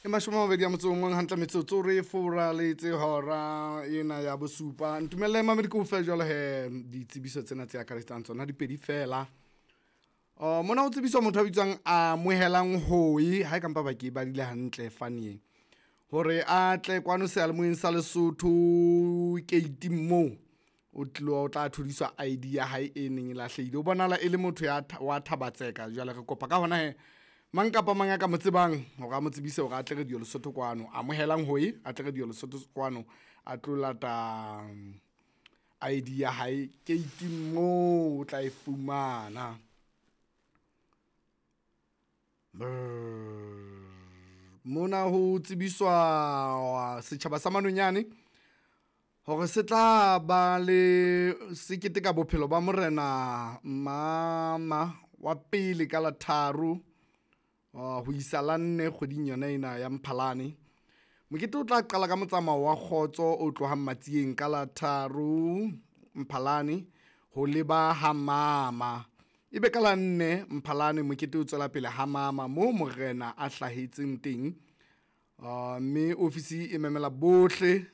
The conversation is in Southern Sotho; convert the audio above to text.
E 21 a motso o mong hantle metsotso re fora le tse hora ena ya bosupa. Ntumelle mamedi ke o fe jwalo he ditsebiso tsena tse akaretsang tsona dipedi fela. Mona ho tsebiswa motho a bitswang Amohelang Hoi ha e kampa ba ke badile hantle fane hore a tle kwano seyalemoyeng sa Lesotho keiting moo o tlilo o tla thodiswa ID ya hae e neng e lahlehile. O bonahala e le motho ya wa Thaba-Tseka. Jwale re kopa ka hona he mang kapa mang a ka mo tsebang hore a mo tsebise hore a tle Radio Lesotho kwano. Amohelang Hoi a tle Radio Lesotho kwano a tlo lata ID ya hae keiting moo o tla e fumana. Mona ho tsebiswa setjhaba sa Manonyane hore se tla ba le se keteka bophelo ba morena Mama wa pele ka la 3 ho isa la 4 kgweding yona ena ya Mphalane. Mokete o tla qala ka motsamao wa kgotso o tlohang Matsieng ka la 3 Mphalane ho leba ha Mama. Ebe ka la 4 Mphalane mokete o tswela pele ha Mama moo morena a hlahetseng teng. Mme ofisi e memela bohle